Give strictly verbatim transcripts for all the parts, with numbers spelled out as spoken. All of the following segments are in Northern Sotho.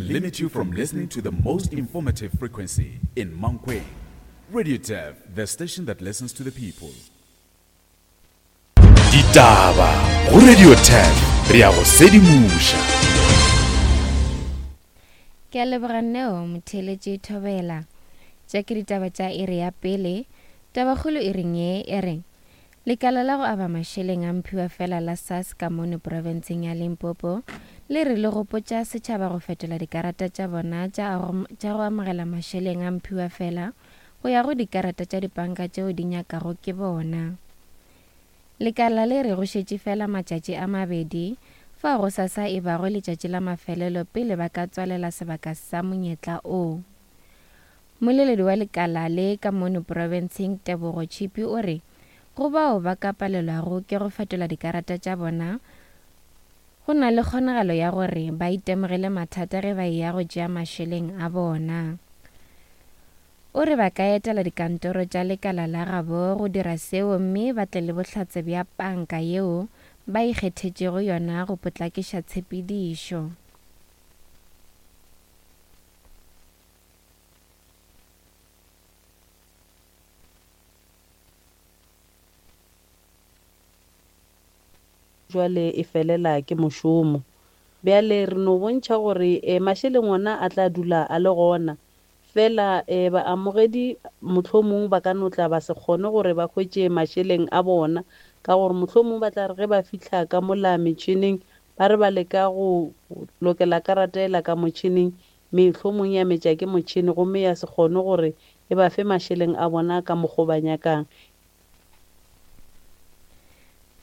limit you from listening to the most informative frequency in Mankweng. Radio Turf, the station that listens to the people. Ditaba go Radio Turf, re a go sedimoša. Ke a leboga Neo motheeletši Thobela. Tša ke ditaba tša iri ya pele. Tabakgolo e reng ye e re Lekala la go aba mašeleng a mphiwa fela la SARS ka mono profenseng ya Limpopo le re le gopotša setšhaba go fetola dikarata tša bona tša go amogela mašeleng a mphiwa fela go ya go dikarata tša dipanka tšeo di nyakago ke bona. Lekala le re go šetše fela matšatši a mabedi fao go sasa e bago letšatši la mafelelo pele ba ka tswalela sebaka sa monyetla o. Mmoleledi wa lekala le ka mono profenseng Tebogo Chipi o re go bao ba ka palelwago ke go fetola dikarata tša bona go na le kgonagalo ya gore ba itemogele mathata ge ba eya go tšea mašeleng a bona. O re ba ka etela dikantoro tša lekala la gabo go dira seo mme ba tle le bohlatse bja panka yeo ba ikgethetšego yona go potlakiša tshepedišo. Jwale e felela ke mošomo. Bjale re no bontšha gore eh, mašeleng ona a tla dula a le gona. Fela eh, baamogedi mohlomong ba ka no tla ba se kgone gore ba hwetše mašeleng a bona, ka gore mohlomong ba tla re ge ba fihla ka mola metšhineng ba re ba leka go lokela karata ela ka motšhineng, mehlomong ya metša ke motšhini gomme ya se kgone gore e ba fe mašeleng a bona ka mokgo ba nyakang.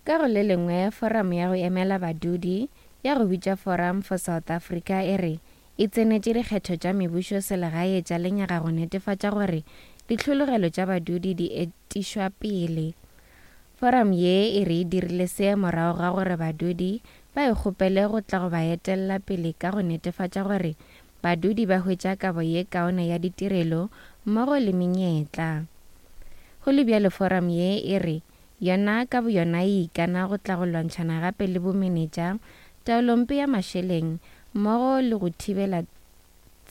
Ka go le lengwe, forum ya go emela badudi ya go bitša Forum for South Africa e re e tsenetše dikgetho tša mebušo selegae tša lenyaga go netefatša gore ditlhologelo tša badudi di etišwa pele. Forum ye e re e dirile se morago ga gore badudi ba e kgopele go tla go ba etella pele ka go netefatša gore badudi ba hwetša kabo ye kaone ya ditirelo mmogo le menyetla. Go le bjalo, forum ye e re yona ka boyona e ikana go tla go lwantšhana gape le bomenetša, taolompe ya mašeleng mmogo le go thibela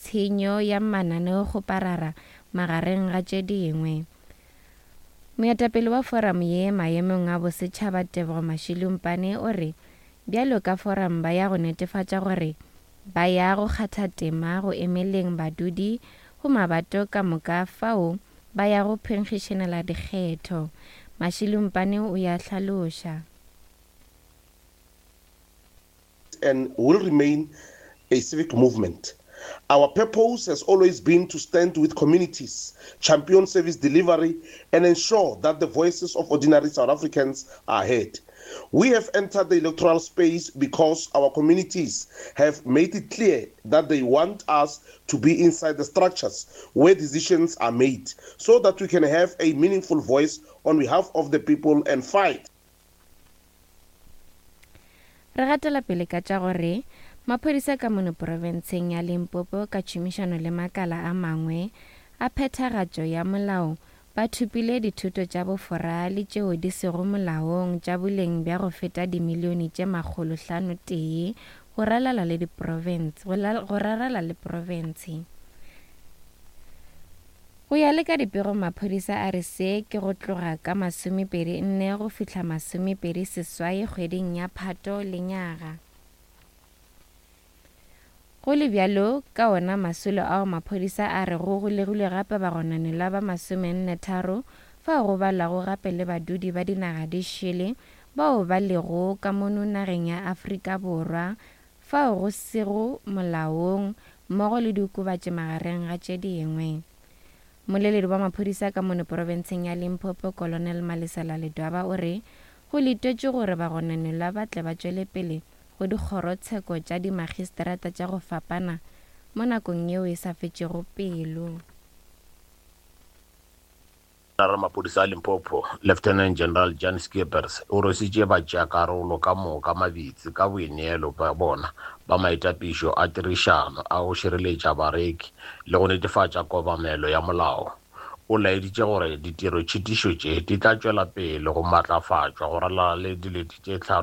tshenyo ya mananeokgoparara magareng ga tše dingwe. Moetapele wa forum ye maemong a bosetšhaba Tebogo Mashilumpane o re bjalo ka forum ba ya go netefatša gore ba ya go kgatha tema go emeleng badudi go mabato ka moka fao ba ya go phenkgišanela dikgetho. Mashilumpane o ya hlaloša. And will remain a civic movement. Our purpose has always been to stand with communities, champion service delivery, and ensure that the voices of ordinary South Africans are heard. We have entered the electoral space because our communities have made it clear that they want us to be inside the structures where decisions are made, so that we can have a meaningful voice on behalf of the people and fight. Re gatela pele ka tša gore maphodisa ka mono profenseng ya Limpopo ka tšhomišano le makala a mangwe a phethagatšo ya molao ba thopile dithoto tša bofora le tšeo di sego molaong tša boleng bja go feta dimilione tše makgolo hlano tee go ralala le diprofense go rarala le profense. Go ya le ka dipego, maphodisa a re se ke go tloga ka masomepedi nne go fihla masomepedi seswai kgweding ya Phato lenyaga. Go le bjalo, ka ona masolo ao maphodisa a re go golegilwe gape bagononelwa ba masomenne tharo fao go balwago gape le badudi ba dinaga di šele bao ba lego ka mono nageng ya Afrika Borwa fao go sego molaong mmogo le diokobatši magareng ga tše dingwe. Mmoleledi wa maphodisa ka mono profenseng ya Limpopo Colonel Malesela Ledwaba o re go letetšwe gore bagononelwa ba tle ba tšwele pele go dikgorotsheko tša dimagistrata tša go fapana mo nakong yeo e sa fetšego pelo. Maphodisa a Limpopo, Lieutenant General Jan Schippers o rwešitše batšeakarolo ka moka mabitsi ka boineelo bja bona ba maitapišo a tirišano a go šireletša bareki le go netefatša kobamelo ya molao. O laeditše gore ditirotšhitišo tše di tla tšwela pele go matlafatšwa go ralala le dilete tše hlano